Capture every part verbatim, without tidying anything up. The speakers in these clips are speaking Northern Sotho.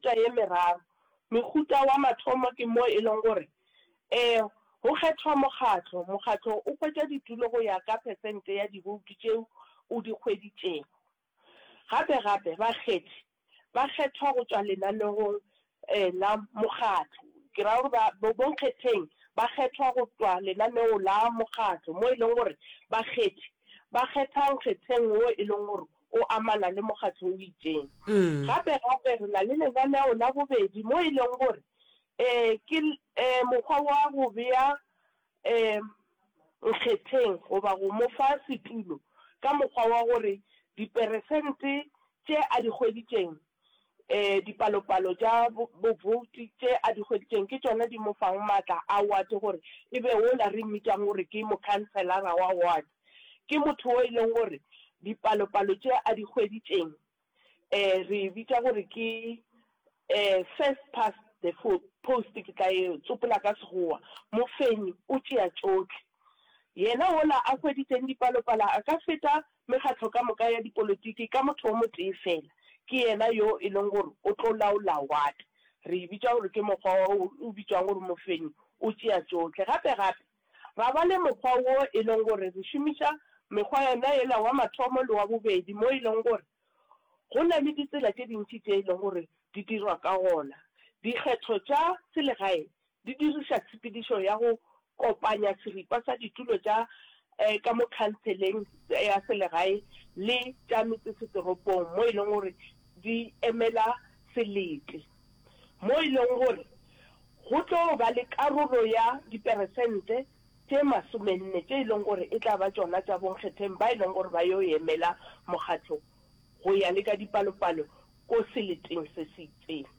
mehuta ye meraro. Mehuta wa mathomo ke mo e leng gore um go kgethwa mokgatlo, mokgatlo o hwetša ditulo go ya ka phesente ya diboutu tšeo o di hweditšego. Gape gape bakgethi ba kgethwa go tšwa lenanegong la mokgatlo, ke ra gore ba bonkgetheng ba kgethwa go tšwa lenaneo la mokgatlo mo e leng gore bakgethi ba kgetha nkgetheng wo e leng gore o amana le mokgatlo o itšeng. Gape gape re na le lenaneo la bobedi mo e leng gore um ke um mokgwa wa go bea um nkgetheng goba go mo fa setulo ka mokgwa wa gore diperesente tše a di hweditšeng, um dipalopalo tša bobouti tše a di hweditšeng ke tšona di mo fang maatla a wate gore e be wola re mmitšang gore ke mokhanselara wa ward. Ke motho wo e leng gore dipalopalo tše a di hweditšeng um re e bitša gore ke um first past the post, ke tla e tsopola ka Sekgowa, mofenyi o tšea tšohle. Yena wola a hweditšeng dipalopalo a ka feta mekgatlo ka moka ya dipolotiki ka motho o motee fela, ke yena yo e leng gore o tlo laola ward. Re e bitša gore ke mokgwa wo o bitšwang gore mofenyi o tšea tšohle. Gape gape ra ba le mokgwa wo e leng gore re šomiša mekgwa yona yela wa mathomo le wa bobedi mo e leng gore go na le ditsela tše dintši tše e leng gore di dirwa ka gona. Dikgetho tša selegae di diriša tshepedišo ya go kopanya seripa sa ditulo tša ka mo khanseleng ya selegae le tša metsesetoropong mo e leng gore di emela selete, mo e leng gore go tlo ba le karolo ya diperesente tše masomenne tše e leng gore e tla ba tšona tša bonkgetheng ba e leng gore ba yo emela mokgatlo go ya le ka dipalopalo ko seleteng se se itseng.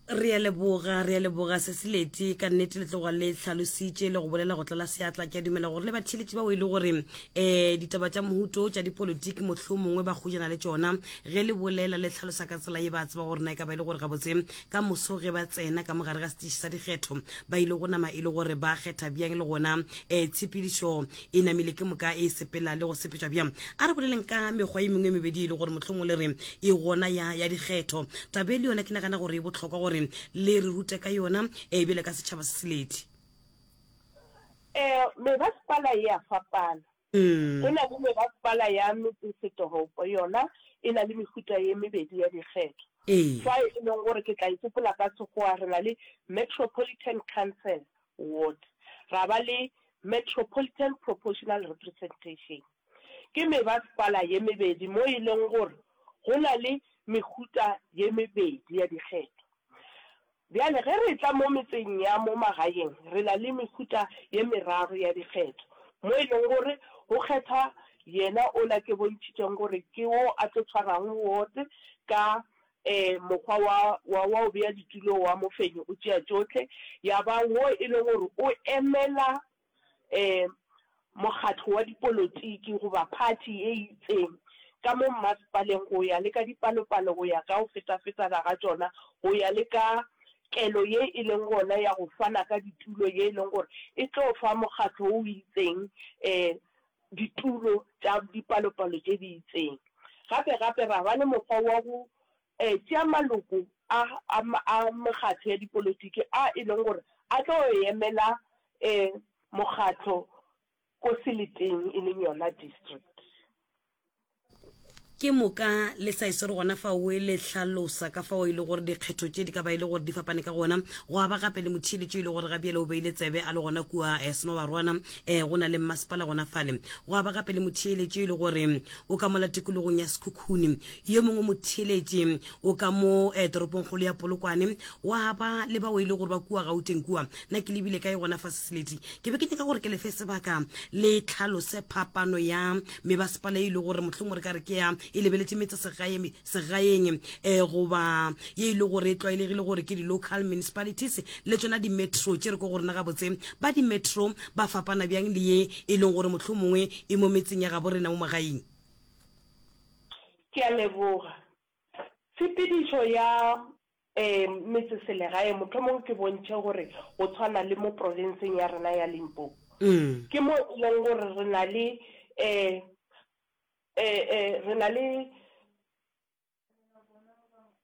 Re a leboga, re a leboga Sesileti, ka nnete le tloga le hlalositše le go bolela go tlala seatla. Ke a dumela gore le batheeletši bao e le gore um ditaba tša mohuto tša dipolotiki mohlomongwe ba kgojana le tšona, ge le bolela le hlalosa ka tsela ye ba tseba gore na e ka ba e le gore gabotse ka moso ge ba tsena ka mogare ga setiši sa dikgetho ba ile go nama e le gore ba kgetha bjang, le gona um tshepedišo e namile ke moka e sepela le go sepetšwa bjang. A re boleleng ka mekgwa e mengwe e mebedi e le gore mohlomongwe le re e gona ya ya dikgetho. Taba e le yona ke nagana gore e bohlokwa gore le re rute ka yona e bjale ka setšhaba se seleti. Um mebasepala e a fapana. Go na le mebasepala ya metsesetoropo, yona e na le mehuta ye mebedi ya dikgetho. Fa e leng gore ke tla e tsopola ka Sekgowa, re na le Metropolitan Council Ward, ra ba le Metropolitan Proportional Representation. Ke mebasepala ye mebedi mo e leng gore go na le mehuta ye mebedi ya dikgetho. Bjale ge re tla mo metseng ya mo magaeng, re na le mehuta ye meraro ya dikgetho mo e leng gore go kgetha yena ola ke bontšhitšeng gore ke wo a tlo tshwarang ward ka um mokgwa wa wa wa go bea ditulo wa mofenyi o tšea tšohle, ya ba wo e leng gore o emela um mokgatlo wa dipolotiki goba party ye itseng ka mo mmasepaleng go ya le ka dipalopalo, go ya ka go fetafetana ga tšona, go ya le ka kelo ye e leng gona ya go fana ka ditulo ye e leng gore e tlo fa mokgatlo o itseng um ditulo tša dipalopalo tše di itseng. Gape gape ra ba le mokgwa wa go um tšea maloko a a a mekgatlo ya dipolotiki a e leng gore a tlo emela um mokgatlo ko seleteng e leng yona district. Ke moka le sa iswere gona fao le hlalosa ka fao e le gore dikgetho tše di ka ba e le gore di fapane ka gona. Go aba gape le motheeletši e le gore gabjale o beile tsebe a le gona kua eh, Senobarwana, eh, go na le mmasepala gona fale. Go aba gape le motheeletši e le gore o ka mola tikologong ya Sekhukhune, yo mongwe motheeletši o ka mo eh, toropongkgolo ya Polokwane. Wa ba le bao e le gore ba kua Gauteng kua. Nna ke lebile kae gona fa Sesileti? Ke be ke nyaka gore ke lefe sebaka le tlhalose phapano ya mebasepala e le gore mohlomongwe re ka re ke ya e lebeletše metse segae segaeng eh, goba ye e le gore e tlwaelegile gore ke di-local municipalities le tšona di-metro tše re ko go rena gabotse ba di-metro ba fapana bjang le ye e leng gore mohlomongwe e mo metseng ya gabo rena mo magaeng. Ke a leboga. Tshepedišo ya um metseselegae mohlomongwe ke bontšhe gore go tshwana le mo provinseng ya rena ya Limpopo ke mo e leng gore re na le um re na le